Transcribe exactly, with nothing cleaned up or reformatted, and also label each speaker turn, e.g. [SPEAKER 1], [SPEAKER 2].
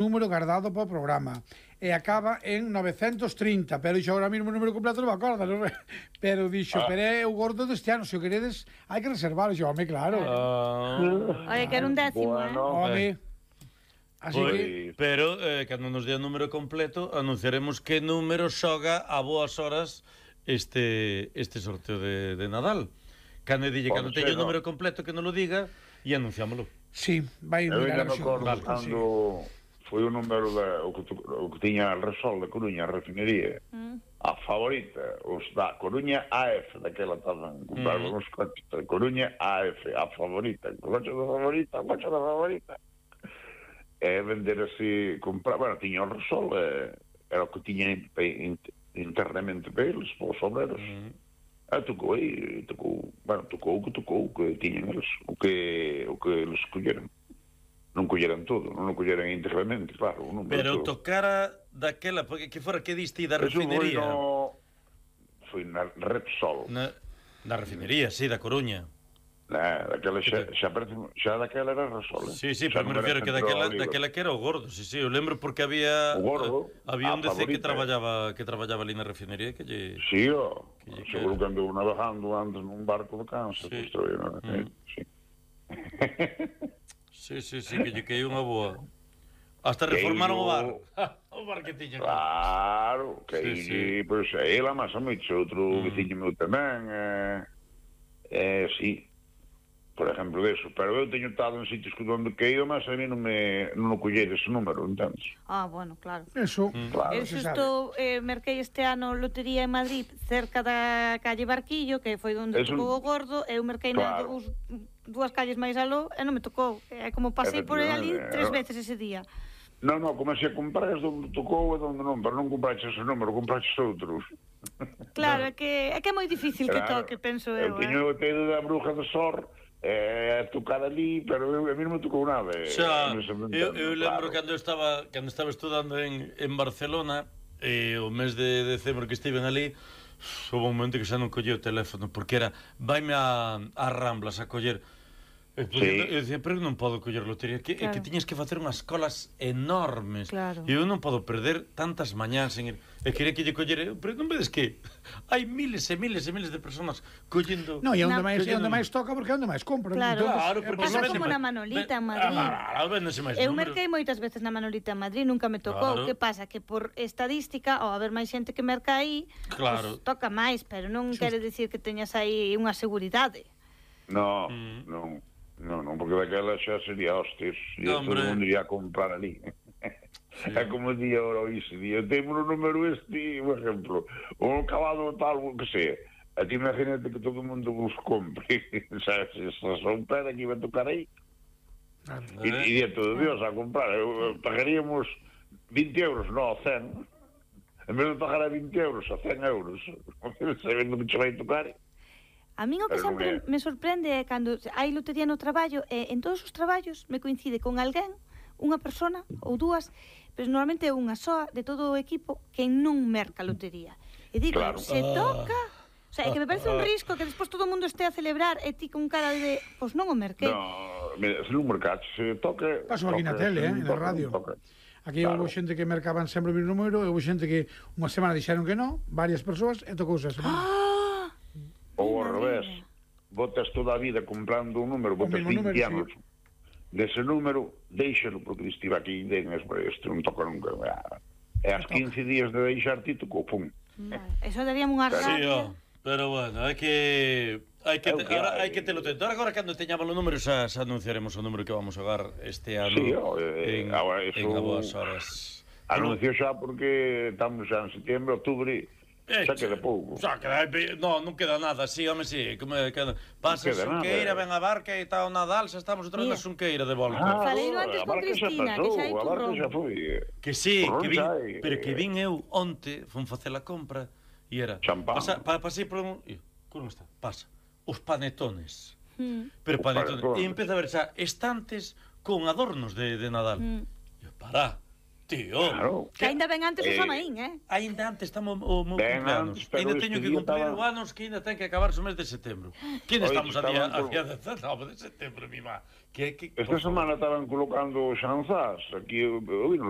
[SPEAKER 1] número guardado para o programa e acaba en novecentos trinta, pero dixo agora mesmo o número completo non me acordo, non? Pero dixo, ah. pero é o gordo deste ano, se o queredes hai que reservar, dixo, home, claro.
[SPEAKER 2] Ah.
[SPEAKER 3] Oye, que era un décimo,
[SPEAKER 2] Bueno,
[SPEAKER 3] eh?
[SPEAKER 1] Home.
[SPEAKER 2] eh.
[SPEAKER 1] Así
[SPEAKER 2] Pois,
[SPEAKER 1] que...
[SPEAKER 4] Pero, eh, cando nos dé o número completo, anunciaremos que número xoga a boas horas este este sorteo de, de Nadal. Cando dille, cando teño o número completo que non lo diga, e anunciámoslo.
[SPEAKER 1] Sí, vai
[SPEAKER 2] eu
[SPEAKER 1] mirar
[SPEAKER 2] ainda me acordo
[SPEAKER 1] vale,
[SPEAKER 2] cando foi o número da, o, que, o que tiña el Resol de Coruña, a refinería, mm. a favorita, os da Coruña A F, daquela estaban comprando mm. uns coches de Coruña A F, a favorita, o coche da favorita, o coche da favorita. E vender así, comprar, bueno, tiña o Resol, eh, era o que tiña internamente para eles, para os obreros. Mm. Ah, tocou aí, tocou, bueno, tocou o que tocou, o que tiñan eles, o que, o que eles colleran. Non colleran todo, non o colleran íntegramente, claro. Non
[SPEAKER 4] pero tocara daquela, porque que fora que diste da refinería?
[SPEAKER 2] Eso foi, no, foi na Repsol.
[SPEAKER 4] Na, na refinería, sí, da Coruña.
[SPEAKER 2] Na, daquela xa, xa, parece, xa daquela era Repsol, eh?
[SPEAKER 4] Sí, sí, pero me refiero que daquela, daquela que era o gordo, sí, sí, eu lembro porque había
[SPEAKER 2] o gordo,
[SPEAKER 4] uh, había un D C que traballaba que traballaba ali na refinería que lle...
[SPEAKER 2] Sí, ó, que lle seguro que andou navegando antes nun barco de Kansas,
[SPEAKER 4] sí.
[SPEAKER 2] Construído, mm. sí.
[SPEAKER 4] Sí, sí, sí, que lle quei unha boa. Hasta reformaron o bar. O bar que tiña.
[SPEAKER 2] Claro, que
[SPEAKER 4] sí,
[SPEAKER 2] aí,
[SPEAKER 4] sí.
[SPEAKER 2] Pois, pues, ela máis a moito, outro mm. veciño meu tamén, eh, eh, sí. Por exemplo, eso, pero eu teño estado en sitios onde que eu, mas a mí non me non o collei ese número, entendes?
[SPEAKER 3] Ah, bueno, claro.
[SPEAKER 1] Eso,
[SPEAKER 2] mm. claro.
[SPEAKER 3] Eu xusto eh, merquei este ano lotería en Madrid, cerca da calle Barquillo, que foi onde
[SPEAKER 2] eso...
[SPEAKER 3] tocou o gordo, eu merquei claro. na dous, dúas calles máis aló e non me tocou. É como pasei por ali tres veces ese día.
[SPEAKER 2] Non, non, como se a comprar onde tocou e onde non, pero non compraches ese número, compraches outros.
[SPEAKER 3] Claro, é que é que é moi difícil claro. que toque, penso eu.
[SPEAKER 2] Eu teño o tedo da bruja de Sor, eh, tocar ali, pero eu, a mí non me tocou nada.
[SPEAKER 4] Xa, eu, eu lembro claro. cando estaba cando estaba estudando en, en Barcelona, eh, o mes de decembro que estiven ali, houve un momento que xa non collía o teléfono, porque era, vaime a, a Ramblas a coller. E sí. Eu dicía, pero non podo coller lotería, que, claro. é que tiñes que facer unhas colas enormes,
[SPEAKER 3] claro.
[SPEAKER 4] e eu non podo perder tantas mañás en ir, e quería que lle collera, pero non vedes que hai miles e miles e miles de personas collendo...
[SPEAKER 1] No, e onde máis, collendo... onde máis toca, porque onde máis compra.
[SPEAKER 3] Claro,
[SPEAKER 1] entonces,
[SPEAKER 4] claro, porque
[SPEAKER 3] pasa como na Manolita en Madrid.
[SPEAKER 4] Ah, ah,
[SPEAKER 3] eu merquei moitas veces na Manolita en Madrid, nunca me tocou. Claro. Que pasa? Que por estadística, ao haber máis xente que merca aí,
[SPEAKER 4] claro.
[SPEAKER 3] pues, toca máis, pero non Just... quere dicir que teñas aí unha seguridade.
[SPEAKER 2] No, mm. non. Non, non, porque daquela xa sería hostes e no, todo o mundo iría a comprar ali. Sí. É como día ora iso, día, temos o número este, por exemplo, un cabalo tal, que sei, a ti imagínate que todo o mundo vos compre, sabes, se son pera que iba a tocar aí, e eh. iría todo Dios a comprar, eu, pagaríamos vinte euros, non, cen, en vez de pagar a vinte euros, a cen euros, sabendo que che vai tocar.
[SPEAKER 3] A min o que sempre me sorprende é cando hai lotería no traballo e en todos os traballos me coincide con alguén, unha persona ou dúas, pero normalmente é unha soa de todo o equipo que non merca lotería. E digo, claro. se toca... O sea, é que me parece un risco que despois todo o mundo este a celebrar e ti con cara de... Pois non o merquei.
[SPEAKER 2] No, mira, se non mercache, se toque...
[SPEAKER 1] Paso aquí na tele, eh, na radio. Toque. Aquí claro. Houve xente que mercaban sempre o mesmo número, e houve xente que unha semana dixeron que non, varias persoas, e tocouse a semana.
[SPEAKER 3] Ah!
[SPEAKER 2] Ou ao revés, botas toda a vida comprando un número, botas vinte anos sí. dese número, deixalo, porque estive aquí, den, este non toca nunca. E as quince días de deixar ti, tocou, pum.
[SPEAKER 3] Eso daríamos unha rabia.
[SPEAKER 4] Sí, oh, pero bueno, hai que... Hai que, te, ahora, hai que telo tento. Agora, cando teñamos o número, xa, xa anunciaremos o número que vamos a dar este ano
[SPEAKER 2] sí, oh, eh,
[SPEAKER 4] en,
[SPEAKER 2] ahora, eso...
[SPEAKER 4] en a boas horas.
[SPEAKER 2] Anuncio xa porque estamos xa en setembro, outubro.
[SPEAKER 4] Eh,
[SPEAKER 2] xa queda pouco.
[SPEAKER 4] Xa queda, no, non queda nada, sí, home, sí, como queda. Pasa a Xunqueira, ven a barca e está o Nadal, xa estamos outra vez na Xunqueira de volta.
[SPEAKER 3] Ah, Falei antes con Cristina, que xa hai turrón.
[SPEAKER 4] Que sí, que vin, pero que vin eu onte, fun facer a compra e era
[SPEAKER 2] champán.
[SPEAKER 4] Pasa, pa, pasei por un, como está? Pasa. Os panetones. Mm. Pero panetones. E empeza a ver xa estantes con adornos de, de Nadal. Mm. E para, Tío,
[SPEAKER 2] Claro.
[SPEAKER 3] Que ainda ben antes o
[SPEAKER 2] Eh,
[SPEAKER 3] Samaín, eh?
[SPEAKER 4] ainda antes estamos o meu
[SPEAKER 2] Ben
[SPEAKER 4] cumpleanos.
[SPEAKER 2] antes, pero
[SPEAKER 4] Ainda
[SPEAKER 2] este
[SPEAKER 4] teño que
[SPEAKER 2] día
[SPEAKER 4] cumplir
[SPEAKER 2] estaba-
[SPEAKER 4] o anos que ainda ten que acabarse o mes de setembro. Que ainda
[SPEAKER 2] Oye,
[SPEAKER 4] estamos a día,
[SPEAKER 2] estaban
[SPEAKER 4] a
[SPEAKER 2] con-
[SPEAKER 4] día dezanove de setembro, mi má. Que, que,
[SPEAKER 2] Esta
[SPEAKER 4] por favor.
[SPEAKER 2] semana estaban colocando xanzás aquí, eu, eu vi nos